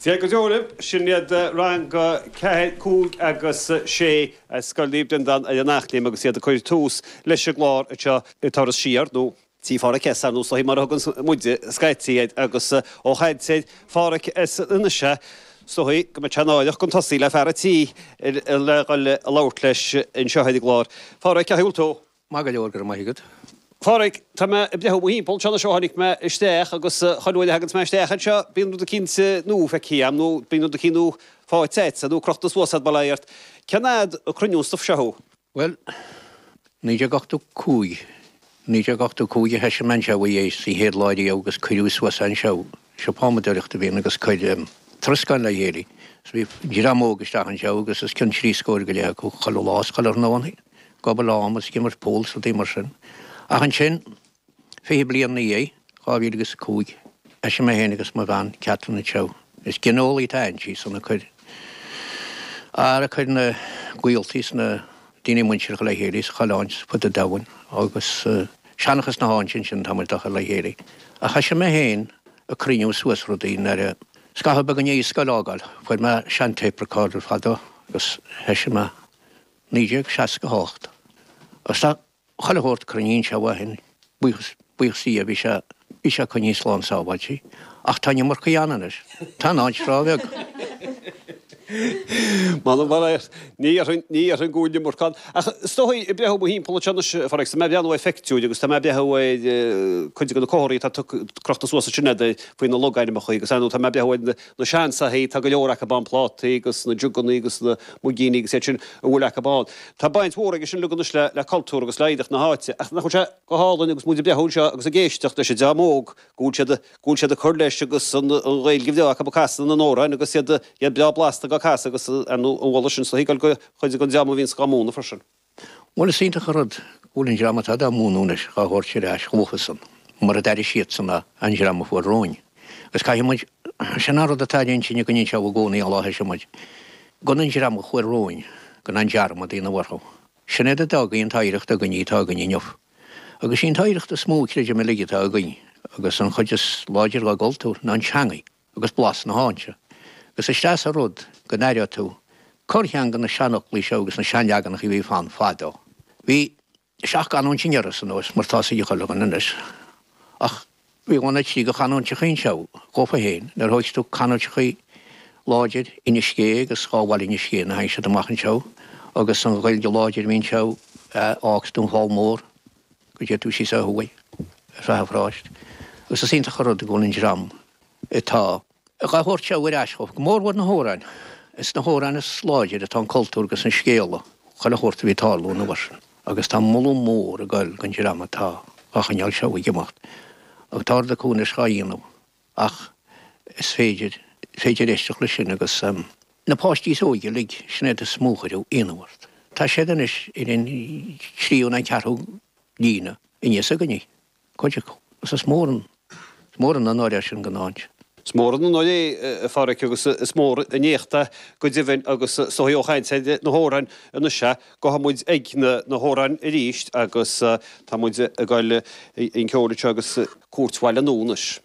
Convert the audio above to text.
Dia go deo libh, sin iad Rang 4, 5 agus 6 as Scoil Naomh Breandán ar an Eachléim agus iad ag cur tús leis an gclár anseo i Turas Siar, nó Tí Pháraic S, ar nós is dóichí mar a thugann muide scaití air, agus ó chaint ar Pháraic S anois is dóichí go mbeadh sé náireach gan tosaí le fear an tí le dhul a labhairt leis anseo ar an gclár. Pháraic, cén chaoi a bhfuil tú? Maith go leor, go raibh maith agat. Pháraic, tá mé ag breathnú mo thimpeall anseo anois ó tháinig mé isteach agus chuile uair a thaganns mé isteach anseo bíonn rud eicínt nua feicthe agam nó bíonn rud eicínt nua faighte agat nó crochta suas agat bail ó Dhia ort. Cén fhad ag cruinniú an stuif seo thú? Bhuel, 1985, 1985 a thoisigh mé anseo é sa chéad lá riamh agus cuireadh suas anseo, siopa adhmadóireachta a bhí ann agus cuireadh troscán le chéile. So bhí dream óg isteach anseo agus os cionn trí scór go leith acu chuile lá is chuile thráthnóna, ag obair am is ag imirt pool is rudaí mar sin. Ach ansin, 20 bliain ina dhiaidh, 2005, thoisigh mé féin agus mo bhean, Catherine anseo. Is gineolaí atá inti, san ag cur, ar ag cur na gaoltaí is na daoine muinteartha le chéile sa chuile áit fud an domhain agus seanchas na háite ansin tá muid dá chur le chéile. Ach thoisigh mé féin ag cruinniú suas rudaí nuair a, scaitheamh beag i ndiaidh scoil a fhágáil, fuair mé sean tape recorder fadó agus thoisigh mé 1968. Agus tá Chuile shórt cruinnithe anseo ó shin, buíochas, buíochas do Dhia, bhí sé, bhí sé coinnithe slán sábháilte. Ach tá an iomarcaí ann anois. Tá an áit rábheag. M'anam mar é, ní dhéarfainn, ní dhéarfainn go bhfuil an iomarca ann. Ach is dóigh, ag breathnú mo thimpeall anseo anois, a Phádraig, tá mé ag breathnú ar phictiúir agus tá mé ag breathnú ar cuid de na comharthaí atá tugtha, crochta suas ansin agat faoi na logainmneacha agus ar ndóigh tá mé ag breathnú ar na, na seansoithí, tá go leor acu ann, plátaí agus na jugannaí agus na muigíní agus iad sin a bhfuil acu ann. Tá baint mhór aige sin uilig anois le cultúr agus le hoidhreacht na háite. Ach nach bhfuil sé go hálainn agus muid ag breathnú anseo agus ag éisteacht leis an dream óg go bhfuil siad, go bhfuil siad ag cur leis agus an Ghaeilge bhreá acu ag casadh na n-amhrán agus iad, iad breá blasta dhá casadh agus ar ndóigh an mholadh sin is dóichí ag dul go chuid den dream a bhíonns dhá múineadh freisin. Bhuel, is iontach an rud go bhfuil an dream atá dá múineadh anois dhá thabhairt ar ais dhófa-san, mar a d'airigh siadsan an dream a fuair romhainn. Agus caithfidh muid, sin an rud atá ar intinn againn anseo i gcónaí ón lá a thoisigh muid, gan an dream a chuaigh romhainn, gan aon dearmad a dhéanamh orthu. Sin iad a d'fhág an t-oidhreacht againn atá againn inniu. Agus sí an t-oidhreacht is mó, creidim uilig, atá againn, agus an chuid is láidre dá gcultúr, ná an teangaidh. agus blas na háite. Agus is deas an rud go n-aireoidh tú corrcheann de na seanfhoclaí seo agus na seanleaganacha a bhí ann fadó. Bhí seacht gcanúint in Iorras anuas mar tá's ag chuile dhuine anois. Ach bhí dhá nó trí de chanúinteachaí anseo dhófa féin. Nuair a thóigeas tú canúinteachaí láidir Inis Gé agus dhá bhaile Inis Gé nuair a tháinig siad amach anseo agus an Ghaeilge láidir a bhí anseo a fhágas Dún Fál Mór go dté tú síos ó thuaidh ar feadh an pharáiste. Agus is iontach an rud go bhfuil an dream atá dhá thabhairt seo ar ais chomh, go mórmhór na hamhráin. Is sna hamhráin is láidire atá an cultúr agus an scéala, chuile shórt a bhí ag tarlú an uair sin. Agus tá moladh mór ag goil don dream atá dhá choinneáil seo ag imeacht. Agus tá rud acu anois dhá dhéanamh ach is féidir, is féidir éisteacht leis sin agus na páistí is óige uilig, sin iad is mó a chuireadh ionadh ort. Tá siad anois ar an tríú nó an ceathrú líne aníos againne. Cuid acu. Agus is mór an, is mór an onóir é sin don áit. Is mór an onóir é, a Pháraic, agus is mór an éacht é go deimhin agus is dóigh ó chaint ar na hamhráin anois é, gabhfaidh muid ag na hamhráin arís agus tá muid ag dul chun ceoil anseo agus Cúirt Bhaile Nua anois.